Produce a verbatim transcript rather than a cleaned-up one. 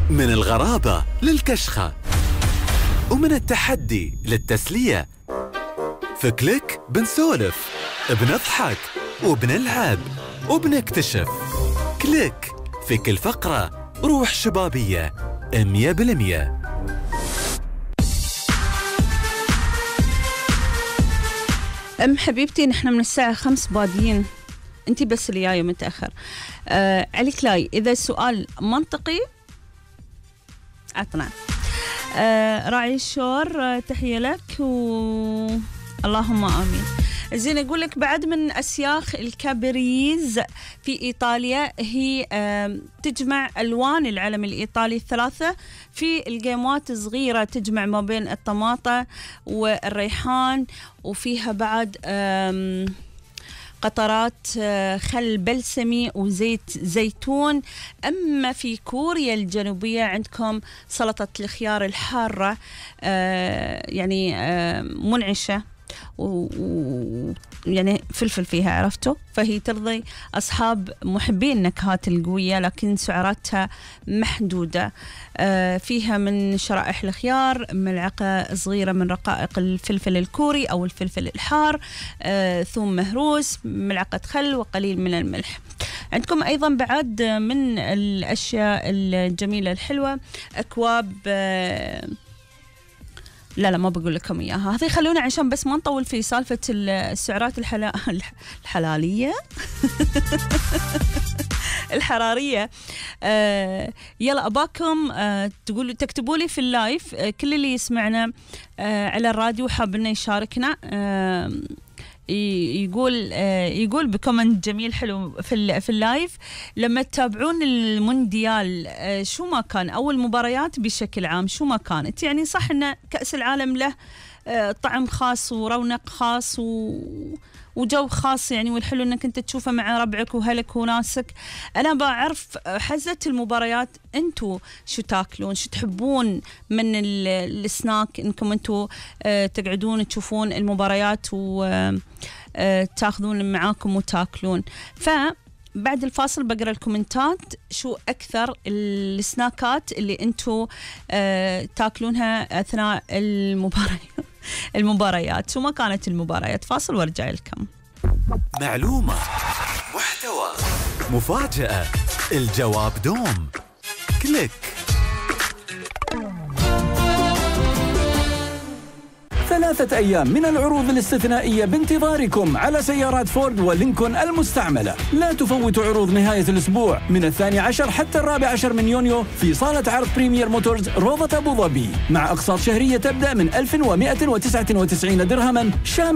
من الغرابة للكشخة، ومن التحدي للتسلية. في كليك بنسولف، بنضحك، وبنلعب، وبنكتشف. كليك في كل فقرة روح شبابية مية بالمية. أم حبيبتي، نحن من الساعة خمس بادين، أنتي بس اللي جاية متأخر. آه عليك لاي، إذا السؤال منطقي عطنا. آه راعي الشور، آه تحية لك و اللهم آمين. زين، أقول لك بعد من أسياخ الكابريز في إيطاليا، هي آه تجمع ألوان العلم الإيطالي الثلاثة في الجيمات صغيرة، تجمع ما بين الطماطة والريحان، وفيها بعد آه قطرات خل بلسمي وزيت زيتون. أما في كوريا الجنوبية عندكم سلطة الخيار الحارة، آه يعني آه منعشة، ويعني فلفل فيها، عرفتوا؟ فهي ترضي أصحاب محبين النكهات القوية، لكن سعراتها محدودة. آه فيها من شرائح الخيار ملعقة صغيرة من رقائق الفلفل الكوري أو الفلفل الحار، آه ثوم مهروس، ملعقة خل، وقليل من الملح. عندكم أيضا بعد من الأشياء الجميلة الحلوة أكواب، آه لا لا ما بقول لكم إياها، هذه خلونا عشان بس ما نطول في سالفة السعرات الحلا... الحلالية الحرارية. آه يلا أباكم آه تقولوا تكتبوا لي في اللايف، آه كل اللي يسمعنا آه على الراديو حاب إنه يشاركنا، آه يقول آه يقول بكومنت جميل حلو في في اللايف، لما تتابعون المونديال آه شو ما كان أو المباريات بشكل عام شو ما كانت، يعني صح إن كأس العالم له آه طعم خاص ورونق خاص و وجو خاص يعني، والحلو انك انت تشوفه مع ربعك وهلك وناسك. انا بعرف حزة المباريات انتو شو تاكلون، شو تحبون من السناك، انكم انتو اه تقعدون تشوفون المباريات وتاخذون معاكم وتاكلون. فبعد الفاصل بقرا الكومنتات شو اكثر السناكات اللي انتو اه تاكلونها اثناء المباريات المباريات شو ما كانت المباريات. فاصل وارجع لكم. معلومة، محتوى، مفاجأة، الجواب دوم. كليك. ثلاثة أيام من العروض الاستثنائية بانتظاركم على سيارات فورد ولينكولن المستعملة. لا تفوتوا عروض نهاية الأسبوع من الثاني عشر حتى الرابع عشر من يونيو في صالة عرض بريمير موتورز روضة أبو ظبي، مع أقساط شهرية تبدأ من ألف ومئة وتسعة وتسعين درهما شامل